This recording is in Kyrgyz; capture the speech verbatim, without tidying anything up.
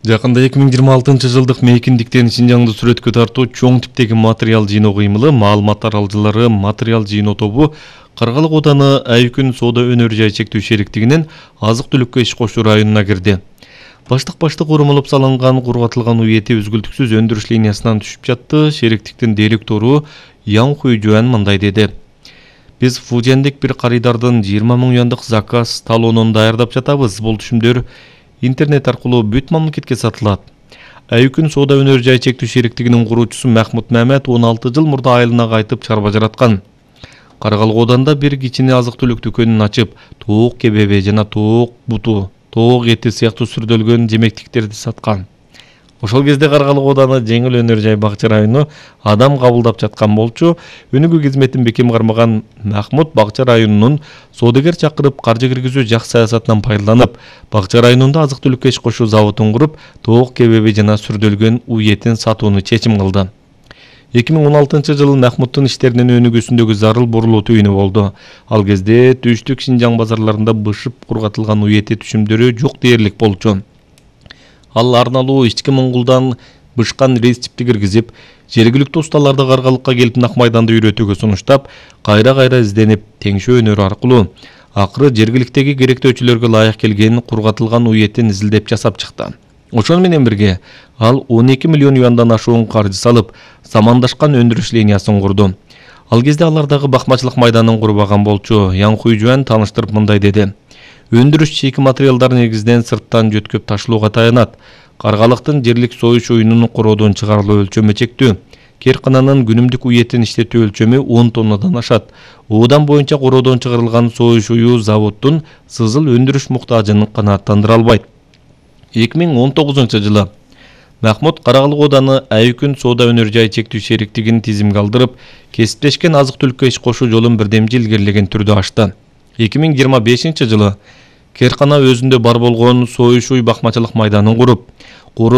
Жакында эки миң жыйырма алтынчы жылдык мейкиндиктен Шинжаңды сүрөткө тартуу чоң типтеги материал жыйноо кыймылы маалыматтар алжылары материал жыйноо тобу Каргалык ооданы Айкүн соода өнөр жай чектүү шериктигинин азык-түлүккө иш кошуу районуна кирди. Баштык-баштык урмулуп салынган кургатылган уй эти үзгүлтүксүз өндүрүш линиясынан түшүп жатты. Шериктиктин директору Ян Хуйжуан мындай деди: Биз Фужендик бир карыдардын жыйырма миң юандык заказ талонун даярдап жатабыз. Бул түшүмдөр интернет аркылуу бүт мамлекетке сатылат. Айкүн соода өнөр жай чектүү шериктигинин куруучусу Махмут Мамед он алты жыл мурда айылына кайтып чарба жараткан. Каргалык ооданда бир кичине азык-түлүк дүкөнүн ачып, тоок кебеби жана тоок буту, тоок эти сыяктуу сүрдөлгөн жемектиктерди саткан. Ошол кезде Каргалык ооданы жеңил өнөр жай бакча району адам кабылдап жаткан болчу. Өнүгүү кызметин бекем кармаган Махмут бакча районунун соодагер чакырып каржы киргизүү жак саясатынан пайдаланып, бакча районунда азык-түлүккө иш кошуу заводун куруп, тоок кебеби жана сүрдөлгөн уй этин сатууну чечим кылды. эки миң он алтынчы жылы Махмуттун иштеринин өнүгүүсүндөгү зарыл бурулуу түйүнү болду. Ал кезде Түштүк Шинжаң базарларында бышып кургатылган уй эти түшүмдөрү жок дээрлик болчу. Ал арналуу ички Моңгулдан бышкан рецепти киргизип, жергиликтүү усталарды Каргалыкка келип нак майданды үйрөтүүгө сунуштап, кайра-кайра изденип, теңшөө өнөрү аркылуу акыры жергиликтеги керектөөчүлөргө ылайык келген кургатылган уй этин изилдеп жасап чыкты. Ошону менен бирге ал он эки миллион юандан ашуун каржы салып, замандашкан өндүрүш линиясын курду. Ал кезде алардагы бакмачылык майданын курбаган болчу. Ян Хуйжуан тааныштырып мындай деди: Өндүрүш чийки материалдар негизинен сырттан жөткөп ташылууга таянат. Каргалыктын жерлик союш уюнунун короодон чыгарылуу өлчөмү чектүү. Керкананын күнүмдүк уй этин иштетүү өлчөмү он тоннадан ашат. Оодан боюнча короодон чыгарылган союш уюу заводдун сызыл өндүрүш муктажын канааттандыра албайт. эки миң он тогузунчу жылы Махмут Каргалык ооданы Айкүн соода өнөр жай чектүү шериктигин тизимге алдырып, кесиптешкен азык-түлүккө иш кошуу жолун бирдемчи илгерилеген түрдө ачты. эки миң жыйырма бешинчи жылы Керкана өзүндө бар болгон союш уй бакмачылык майданын куруп,